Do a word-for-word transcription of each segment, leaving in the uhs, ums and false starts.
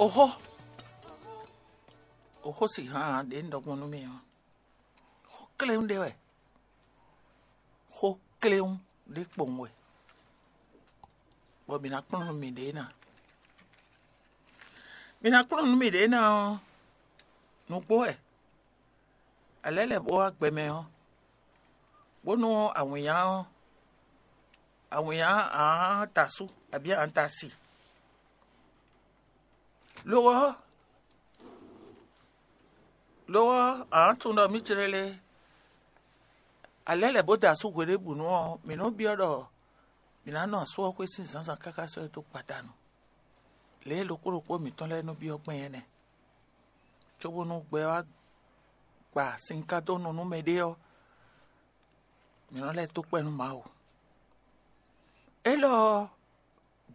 Oxó, oxó si hán ɖě un ɖɔ gbɔn nú mi ɔ́, xó kléwún ɖé wɛ. Xó kléwún ɖé kpowun wɛ, bɔ mǐ ná kplɔ́n nú miɖée ná. Mǐ ná kplɔ́n nú miɖée ná ɔ́, nǔgbó wɛ. Alɛ̌ lɛ́ bó wá gbɛ mɛ ɔ́, bónú awǐnnya ɔ́, awǐnnya ǎ ta asú abǐ ǎ ta asi. Lo ɔ́, lo ɔ́, ǎ tunwun ɖɔ mǐ jlɛ́ lé, alɛ̌ lɛ́ bó da asú hweɖěbǔnu ɔ́, mǐ nɔ́ byɔ́ ɖɔ mǐ ná nɔ asú ɔ́ xwé sín zǎnzǎn káká sɔ́ ɛ dó gbadanu. Lě e ɖokpó ɖokpó mǐtɔn lɛ́ɛ nɔ byɔ́ gbɛn é nɛ́. Cóbónú gbɛ wá gba sin ká dó nu nú mɛɖé ɔ́, mǐ nɔ́ lɛ́ dó kpɛ́ nú Mawu. Élɔ́ ɔ́,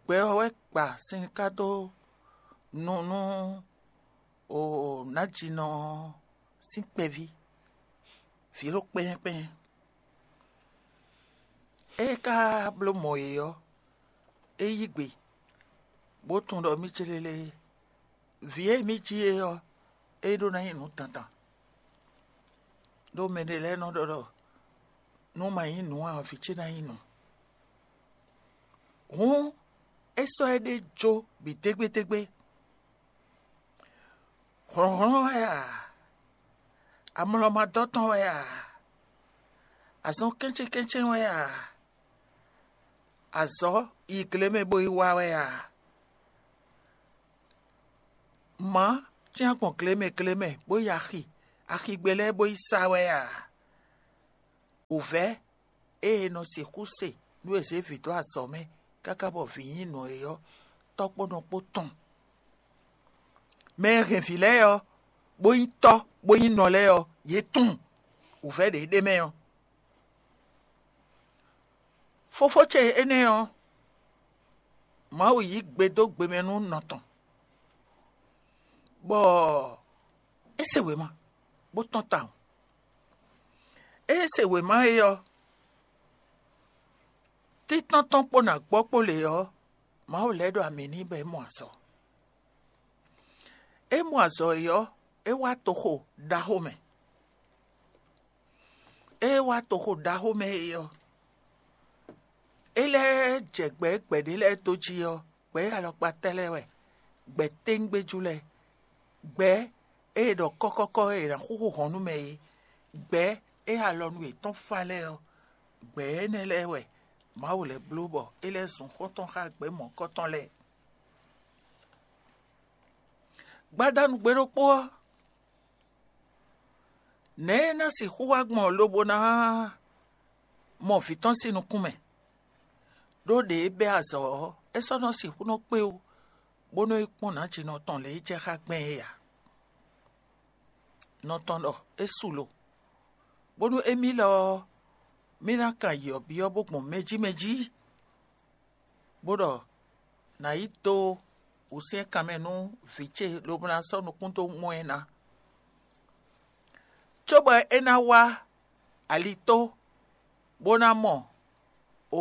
gbɛ ɔ́ wɛ gba sin ká dó nu nú o nǎjínɔ ɔ́ sín kpɛví, vǐ ɖo kpɛ́yɛ́kpɛ́yɛ́. É ka bló mɔ yě ɔ́, é yí gbe, bó tunwun ɖɔ mí célélé vǐ e mǐ ji é ɔ́, é ɖó ná nyí nǔ dandan. Ɖó mɛɖé lɛ́ɛ nɔ ɖɔ ɖɔ nú ma nyí nǔ ǎ, vǐ ce ná nyí nǔ. Hǔn é sɔ́ ɛ ɖé jó bǐ dégbédégbé. Hlɔ̌nhlɔ́n wɛ a? Amlɔmadɔ́ tɔn wɛ a? Azɔn kɛ́nchɛ́nkɛ́nchɛ́n wɛ a? Azɔ̌ yi gle mɛ bó yi wa wɛ a? Mǎ cyán gbɔn gle mɛ gle mɛ bó yi axi, axigbe lɛ́ɛ bó yi sa wɛ a? Wǔvɛ́ e è nɔ sixú se nú è zě vǐ dó azɔ̌ mɛ káká bɔ vǐ nyí nǔ é ɔ́, tɔ́ kpó nɔ kpó tɔn. Mɛ e hɛn vǐ lɛ́ɛ ɔ́, bó nyí tɔ́, bó nyí nɔ lɛ́ɛ ɔ́, yě tunwun wǔvɛ́ ɖě ɖ'é mɛ ɔ́. Fofó ce énɛ́ ɔ́, Mawu yí gbe dó gbe mɛ nú nɔ tɔn, bɔ é se wěma, bó tɔ́n tawun. Ée é se wěma é ɔ́, títɔ́n tɔn kpó nǎ gbɔ kpó lě ɔ́, Mawu lɛ́ ɖo amǐ n'i bɔ é mɔ azɔ̌. É mɔ azɔ̌ é ɔ́, é wá toxo ɖaxó mɛ. Ée é wá toxo ɖaxó mɛ é ɔ́, é lɛ́ jɛ gbɛ̌ gbɛ̌ɖé lɛ́ɛ dó jí ɔ́, gbɛ̌ alɔkpa tɛ́ lɛ́ɛ wɛ, gbɛ̌ téŋgbéjú lɛ́ɛ, gbɛ̌ e è ɖɔ kɔ́kɔ́kɔ́ e è nǎ xúxú hɔn nú mɛ é, gbɛ̌ e alɔnu yětɔn fá lɛ́ɛ ɔ́, gbɛ̌ énɛ́ lɛ́ɛ wɛ Mawu lɛ́ bló bɔ é lɛ́ zun xɔ́ntɔn xá gbɛ̌ mɔ̌kɔ́tɔn lɛ́ɛ. Gbadanu gbe ɖokpó ɔ́, nɛ̌ é ná sixú wá gbɔn lobo ná mɔ vǐ tɔn sín nukún mɛ? Ɖó ɖě é bɛ́ azɔ̌ ɔ́, é sɔ́ nɔ sixú nɔ kpé wú, bó nɔ́ yi kpɔ́n nǎjinɔ tɔn lě e jɛ xá gbɛn é ǎ. Nɔ tɔn ɖɔ é su lo, bónú émí lɔ ɔ́, mí ná kan yi ɔ̌ byɔ́ bó gbɔn mɛ jí mɛ jí, bó ɖɔ nǎ yi dó wǔsyɛ́nkan mɛ nú vǐ ce lobo ná sɔ́ nukún dó mɔ ɛ ná, cóbɔ é ná wá alitó bó ná mɔ o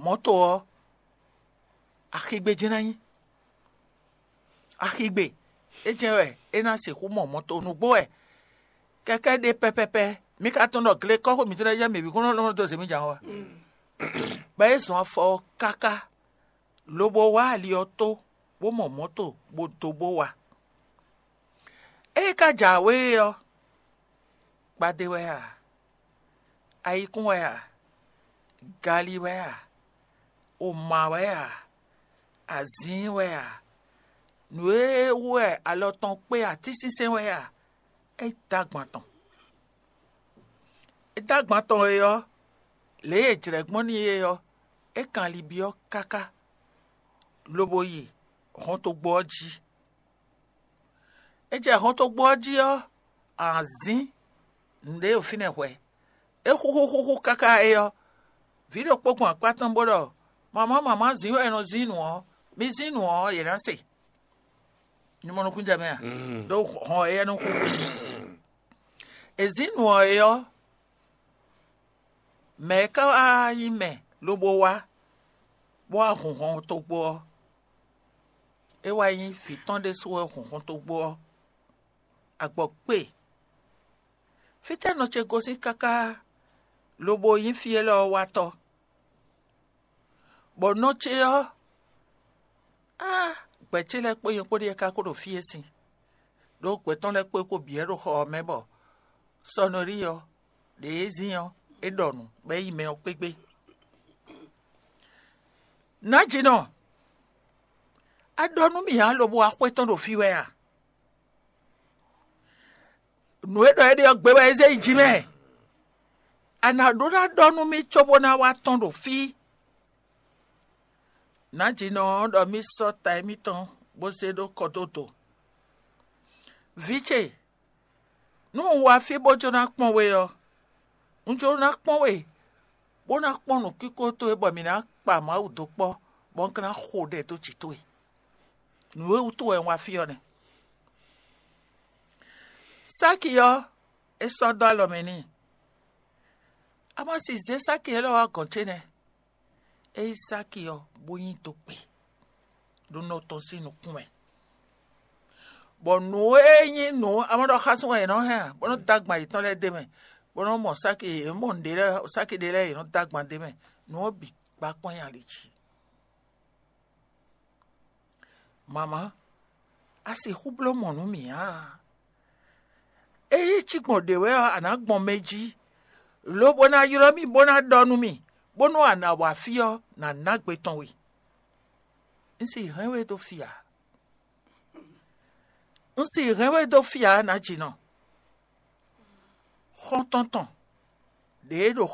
mɔ̌to ɔ́, axigbe jɛ́n ná nyí. Axigbe é jɛ́n wɛ é ná sixú mɔ mɔ̌to nǔgbó wɛ kɛkɛ́ ɖe pɛpɛpɛ. Mi ka tunwun ɖɔ glekɔ́xo mǐtɔn lɛ́ɛ jɛ mǐ bǐ kún nɔ lɔn dó zě mì jǎn wá. Bɔ é zɔn afɔ ɔ́ káká, lobo wá ali ɔ́ tó, bó mɔ mɔ̌to bó dó bó wá. Ée é ka jǎwe é ɔ́, gbadé wɛ a? Ayikún wɛ a? Gali wɛ a? Oma wɛ a? Azǐin wɛ a? Nǔ e wú wɛ alɔ tɔn kpé atínsínsɛ́n wɛ a? É dó agban tɔn. É dó agban tɔn e ɔ́, lě e è jlɛ̌ gbɔn n'i é ɔ́, é kan ali byɔ́ káká, lobo yi hɔntogbó ɔ́ jí. É jɛ hɔntogbó ɔ́ jí ɔ́, azǐn nǔɖé ɖo fínɛ́ hwɛ̌. É xúxú xúxú káká é ɔ́, vǐ ɖokpó gbɔn akpá tɔn bó ɖɔ: "Mamá, mamá, zǐn wɛ è nɔ zín nǔ ɔ́, mi zín nǔ ɔ́, yě ná se." Ní mɔ nukún jɛ mɛ a? Ɖó hɔn éyɛ́ nɔ xúxú. È zín nǔ ɔ́ é ɔ́, mɛ̌ ká wá nyí mɛ lobo wá, bó wá hun hɔntogbó ɔ́? É wá nyí vǐ tɔn ɖésú wɛ hɔnhɔntogbó ɔ́, agbɔ̌ kpe. Fítɛ́ nɔ ce gosín káká lobo nyí fí élɔ́ ɔ́ wátɔ́? Bɔ nɔ ce ɔ́, á, gbɛ̌ ce lɛ́ɛ kpó nyɛ kpó ɖíe ka ko ɖo fí e sin, ɖó gbɛ̌ tɔn lɛ́ɛ kpó é kpo bǐ wɛ ɖo xɔ ɔ́ mɛ bɔ sɔnɔrí ɔ́, ɖě e zín ɔ́, é ɖɔ nǔ bɔ é yi mɛ ɔ́ kpégbé. Nǎjínɔ, a ɖɔ nú mì ǎ lobo wá xwé tɔn ɖo fí wɛ a? Nǔ e ɖɔ é ɖe ɔ́ gbe wɛ é zé yi jǐ mɛ. A nǎ ɖó ná ɖɔ nú mì cóbó ná wá tɔ́n ɖo fí. Nǎjínɔ ɔ́ ɖɔ mì sɔ́ ta émítɔn bó zé ɖó kɔdódo. Vǐ ce, nú un wá fí bó jló ná kpɔ́n we ɔ́, un jló ná kpɔ́n we, bó ná kpɔ́n nǔkínkó towe bɔ mǐ ná kpa Mawu dó kpɔ́, bɔ un ka ná xo ɖɛ dó jǐ towe. Nǔ e wútu wɛ un wá fí ɔ́ nɛ́. Sáki ɔ́, é sɔ́ dó alɔ mɛ n'i. A ma si zě sáki élɔ́ wá gɔ̌n ce nɛ́. É yí sáki ɔ́, bó nyi dó kpe ɖo nɔ tɔn sín nukún mɛ. Bɔ nǔ e nyí nǔ amɔ́ɖɔxásún wɛ è nɔ hɛn ǎ, bó nɔ́ dó agban yětɔn lɛ́ɛ d'é mɛ, bó nɔ́ mɔ sáki, yě mɔ nǔɖé lɛ́ɛ, sáki ɖé lɛ́ɛ yě nɔ́ dó agban d'é mɛ. Nǔ ɔ́ bǐ gbá kpɔ́n nyi ali jí. Mama, a sixú bló mɔ̌ nú mì ǎ. Ényí cí gbɔn ɖě wɛ ɔ́, a nǎ gbɔn mɛ jí, lobo ná ylɔ́ mì bó ná ɖɔ nú mì, bónú a nǎ wá fí ɔ́, nǎ ná gbe tɔn we. Un sì hɛn we dó fí ǎ. Un sì hɛn we dó fí ǎ, nǎjínɔ. Xɔ́ntɔn tɔn ɖě e ɖo xɔ